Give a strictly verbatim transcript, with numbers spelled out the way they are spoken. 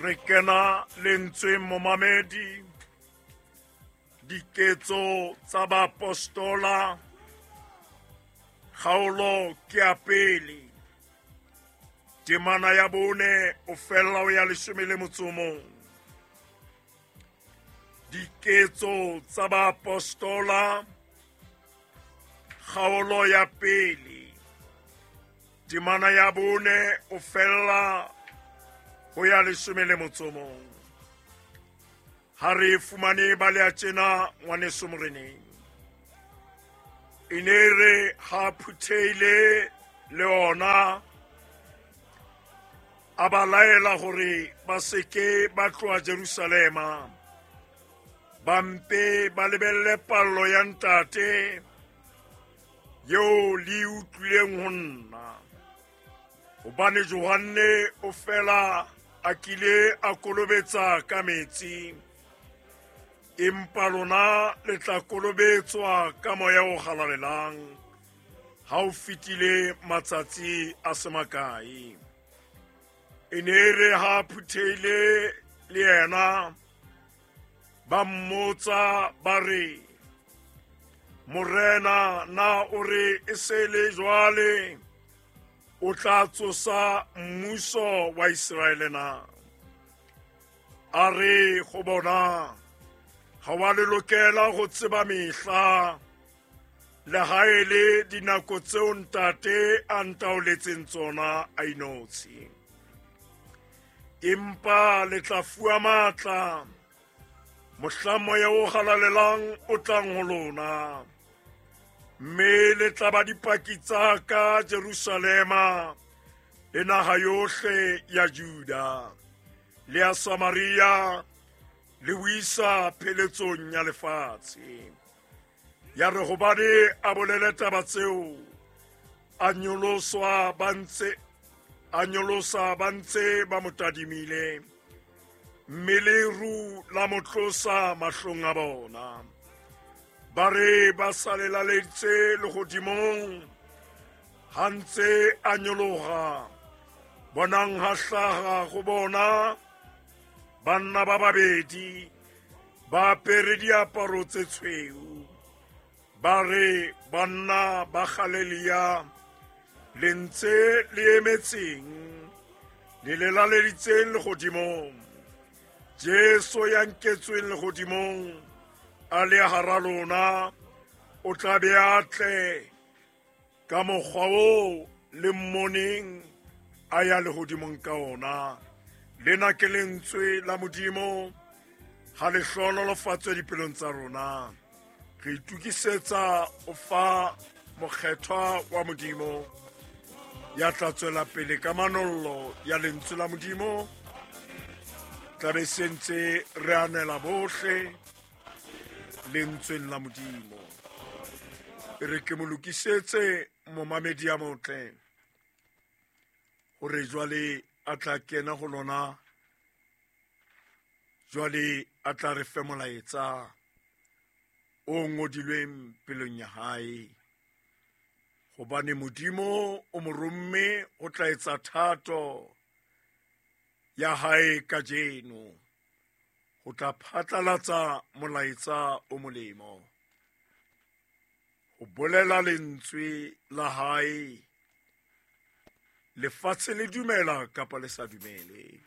Re kena lentsweng momamedi, diketso tsa baapostola, kgaolo ke ya pele, temana ya bone o fella ho ya leshome le motso o mong. Diketso tsa baapostola, kgaolo ya pele, temana ya bone o fella ho ya leshome le motso o mong. Ha re fumane ba le a tjena ngwaneso moreneng. E ne re ha phuthehile le ona, a ba laela hore ba se ke ba tloha Jerusalema, ba mpe ba lebelle pallo ya ntate eo le utlwileng ho nna. Hobane Johanne o fela a kile a kolobetsa ka metsi, empa lona le tla kolobetswa ka moya o halalelang ha o fetile matsatsi a se makae. E ne re ha phuthehile le yena, ba mmotsa ba re, Morena, na o re e se le jwale o tla tsosa mmuso wa Iseraele na? A re ho bona, ha wa le lokela ho tseba mehla le ha e le dinako tseo ntate a ntaoletseng tsona a inotshi. Empa le tla fuwa matla mohla moya o halalelang o tlang ho lona, mme le tla ba dipaki tsa ka Jerusalema le naha yohle ya Juda le ya Samaria le ho isa pheletsong ya lefatshe. Ya re hobane a bolele taba tseo, a nyoloswa ba ntse, a nyolosa ba ntse ba mo tadimile, mme leru la mo tlosa mahlong a bona. Ba re ba sa lelaleditse lehodimong, ha ntse a nyoloha, bonang ha hlaha ho bona banna ba babedi ba apere diaparo tse tshweu. Ba re, banna ba Galilea, le ntse le emetseng, le lelaleditseng lehodimong? Jesu ya nketsweng lehodimong a le hara lona, o tla be a tle ka mokgwa oo le mmoneng a ya lehodimong ka ona. Lena ke lentswe la Modimo, ha le hlohonolofatswe dipelong tsa rona. Re itokisetsa ho fa mokgethwa wa Modimo ya tla tswela pele ka manollo ya lentswe la Modimo. Tla be se ntse re anela bohle lentsweng la Modimo. E re ke mo lokisetse momamedi ya motle, hore jwale a tla kena ho lona, jwale a tla re fe molaetsa o ngodilweng pelong ya hae. Hobane Modimo o mo romme ho tla etsa thato ya hae kajeno, ho tla phatlalatsa molaetsa o molemo, ho bolela lentswe la hae, lefatshe le dumela kapa le sa dumele.